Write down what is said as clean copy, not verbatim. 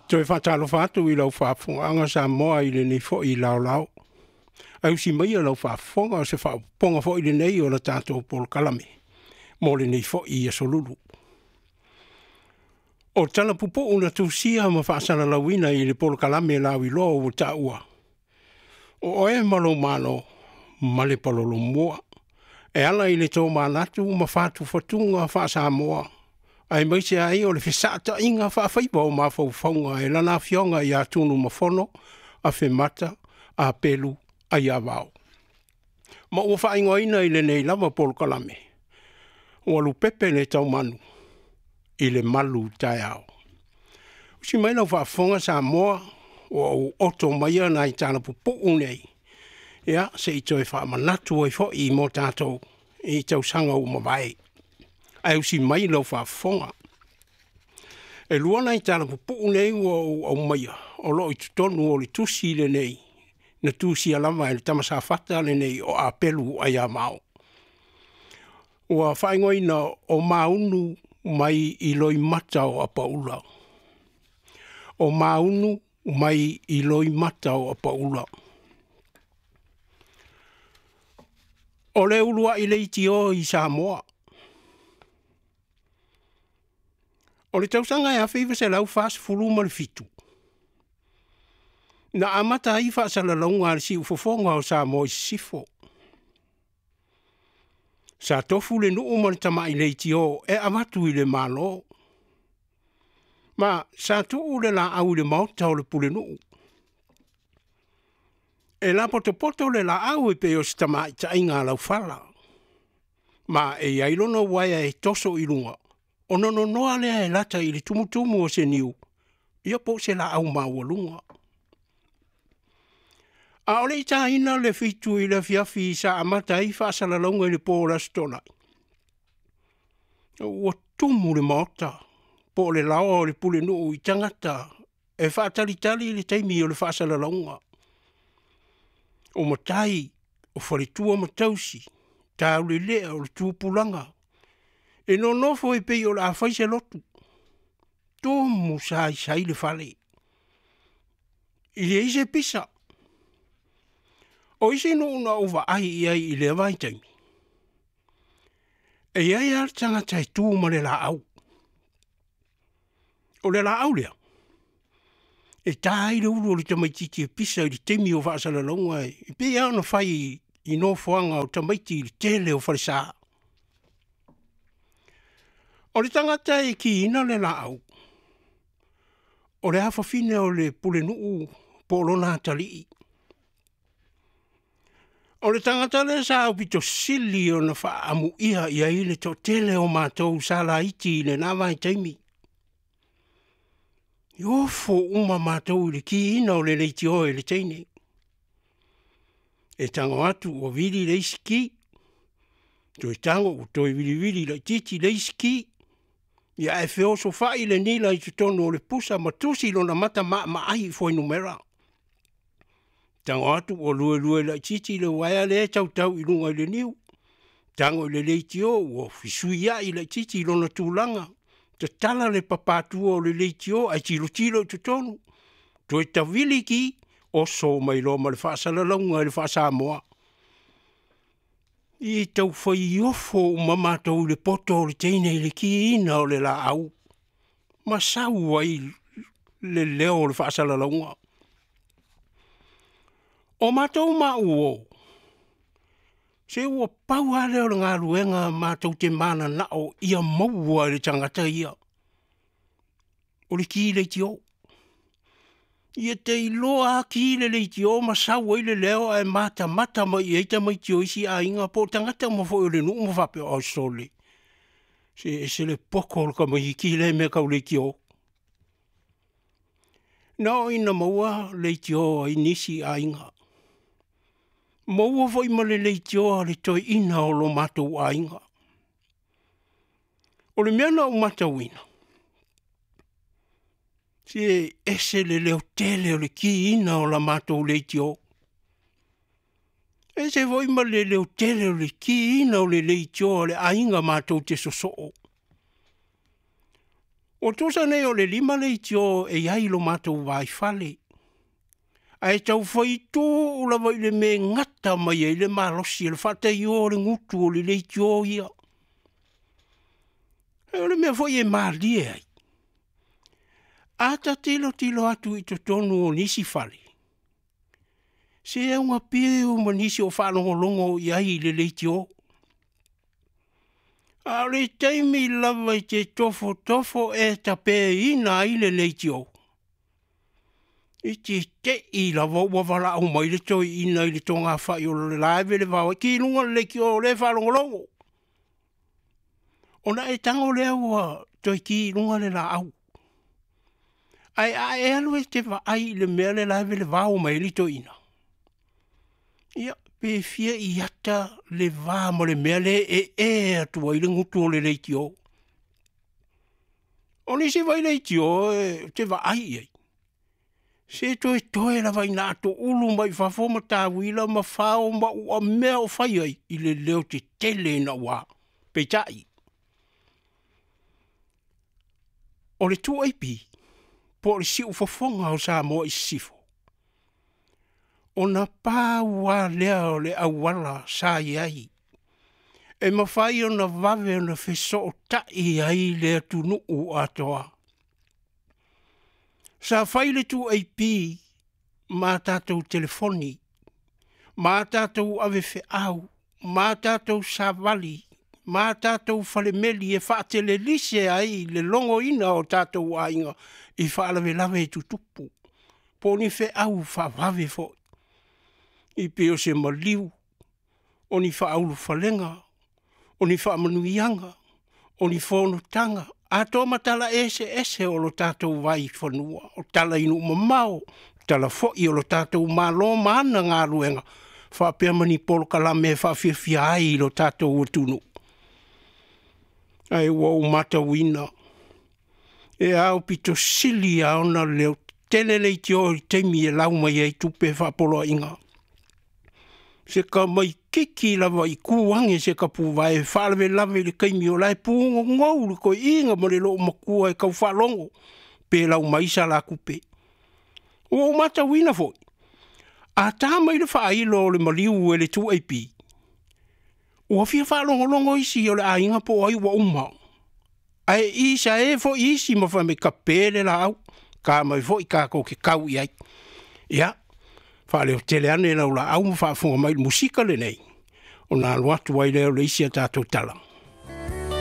Toe faatalofa atu i lau faafofogaaga Samoa i lenei foi laolao. Ae usi maia lau faafofoga o se faaopoopoga foi lenei o le tatou polokalame mo lenei foi aso Lulu. O tala pupuu na tusia ma faasalalauina i le polokalame lauiloa ua taua, o Oe ma Lou Malo ma le Palolomua e ala i le tomanatu ma fatufatuga faa-Samoa aemaise ai o le fesaataiga faafaiva o mafaufauga e Lana Afioga ia Tunumafono Afemata Apelu Aiavao. Ma ua faaigoaina i lenei lava polokalame, ua lupepe le taumanu i le malu taeao. Usi mai lau faafofoga Samoa ua ou oto maia nai tala pupuu nei, ia se i toe faamanatu ai foi mo tatou i tausaga ua mavae. Ae usi mai lau faafofoga. E lua nai tala pupuu nei ua ou aumaia o lo o i totonu o le tusi lenei na tusia lava e le tama Safata lenei o Apelu Aiavao. Ua faaigoaina o Maunu mai i Loimata o Apaula. O Maunu mai i Loimata o Apaula. O le uluai leitio i Samoa. O le tausaga e 1947, na amata ai faasalalauga a le siufofoga o Samoa i Sisifo. Sa tofu le nuu ma le tamai leitio e avatu i le Malo. Ma sa tuu le laau i le maota o le pulenuu. E lapotopoto le laau e pei o se tamaitaiga alaufala, ma e i ai lona uaea e toso i luga, ona nonoa lea e lata i le tumutumu o se niu, ia po o se laau maualuga. A o le i taina le 7 i le afiafi sa amata ai faasalalauga i le po o le Aso Toonai, ua tumu le maota po o le laoa o le pulenuu i tagata e faatalitali i le taimi o le faasalalauga. O matai, o faletua ma tausi, taulelea o le tupulaga, e nonofo e pei o le a fai se lotu, tumu saisai le fale, e leai se pisa. O isi nuu na ou vaai i ai i lea vaitaimi, e i ai lava le tagata e tu ma le laau. O le laau lea, e ta ai le ulu o le tamaitiiti e pisa i le taimi o faasalalauga, e pei lava ona fai i nofoaga o tamaiti i le tele o falesa. O le tagata e kiina le laau, o le afafine o le pulenuu po o lona atalii. O le tagata lea sa aupito sili ona faaamuia i ai le toatele o matou sa laiti i lena vaitaimi. E ofo uma matou i le kiina o le leitio e le teine. E tago atu ua vili le isi ki, toe tago ua toe vilivili laitiiti le isi ki, ia ae feosofai le nila i totonu o le pusa ma tusi lona mata maamaai i fuainumera. Tago atu ua luelue laitiiti le uaea lea e tautau i luga i le niu, tago i le leitio ua fesuiai laitiiti lona tulaga, tatala le papatua o le leitio ae tilotilo i totonu, toe tavili ki, oso mai loa ma le faasalalauga i le faa-Samoa. E tau fai ofo uma matou i le poto o le teine i le kiina o le laau ma sau ai le leo o le faasalalauga. O matou ma uo, se ua pau lava lea o le galuega matou te mananao ia maua e le tagata ia, o le ki leitio. Ia te iloa lava ki le leitio ma sau ai le leo ae matamata mai i ai tamaiti o isi aiga po o tagata uma foi o le nuu ma faapea, oi sole, se ese le poto o le tamaitiiti lea i mea tau leitio. Na oo ina maua leitio a nisi aiga, maua foi ma le leitio a le toeaina o lo matou aiga. O le mea na ou matauina, se e ese le leotele o le kiina o la matou leitio, e ese foi ma le leotele o le kiina o le leitio a le aiga matou te sosoo. Ua tusa nei o le 5 leitio e i ai i lo matou vaifale, ae tau fai tuu lava i le mea e gata mai ai le malosi o le faataio o le gutu o le leitio ia. O le mea foi e malie ai, a ta tilotilo atu i totonu o nisi fale, se augapiu ma nisi o faalogologo i ai i le leitio. A o le taimi lava e te tofotofo e tapeina ai le leitio, e te te i lava ua valaau mai le toeaina i le togafai o la e velevao ai, ki i luga le leitio o lea e faalogologo. Ona e tago lea ua toe ki i luga le laau. Ae a e alu e te vaai i le mea le la e velevao mai ai le toeaina, ia pe fia iata le va ma le mea lea e e atu ai le gutu o le leitio. O nisi foi leitio ou te vaai i ai, se toetoe lava ina ato ulu mai fafo ma tauila ma fao ma uamea o fai ai i le leo tetele ina ua. Peitai, o le 2AP po o le siufofoga o Samoa i Sisifo, ona pau lava lea o le auala sa i ai e mafai ona vave ona fesootai ai le atunuu atoa. Sa fai le 2AP ma tatou telefoni, ma tatou avefeau, ma tatou savali, ma tatou falemeli e faatelelise ai le logoina o tatou aiga i faalavelave tutupu, po o ni feau faavave foi, e pei o se maliu, o ni faaulufalega, o ni faamanuiaga, o ni fonotaga, atoa ma tala eseese o lo tatou vaifanua, o tala i nuu mamao, o tala foi o le tatou Malo ma ana galuega, faapea ma ni polokalame e faafiafia ai lo tatou atunuu. Ae ua ou matauina, e aupito sili lava ona leotetele leitio i le taimi e lau mai ai tupe faapoloaiga. Se tamaititi lava i tu ane se tapuvae e faalavelave i le taimi o la e pugogou le toeaina ma le loomatua e tau faalogo pe lau mai sa la tupe. Ua ou matauina foi, a ta mai le faailo o le maliu e le 2AP, ua fia faalogologo isi o le aiga po o ai ua uma, ae isae foi isi ma fai mai, tape le laau, ta mai foi tatou te tau i ai. Ia, faaleotele ane lau laau ma faafofoga mai i le musika lenei, ona alu atu ai lea o le isi a tatou tala.